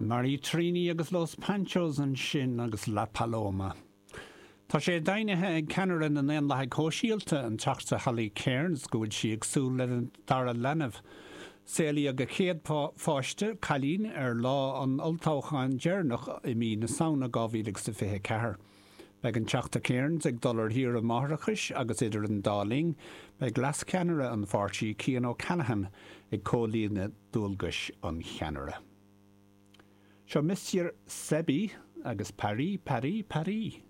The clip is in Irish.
Marie Trini agus Los Panchos ansin agus La Paloma. Tá sé deimhnithe ag ceannaire na nDaonlathaigh Shóisialta, an Teachta Holly Cairns, go bhfuil sí ag súil lena dara leanbh. Saolaíodh a céad pháiste, cailín, ar lá an olltoghcháin deireanach i mí na Samhna 2024. Beidh an Teachta Cairns ag dul ar shaoire máithreachais agus idir an dá linn, beidh leascheannaire an pháirtí, Cian O'Callaghan, ag comhlíonadh dualgais an cheannaire. Seo Monsieur Sebi agus Paris, Paris, Paris.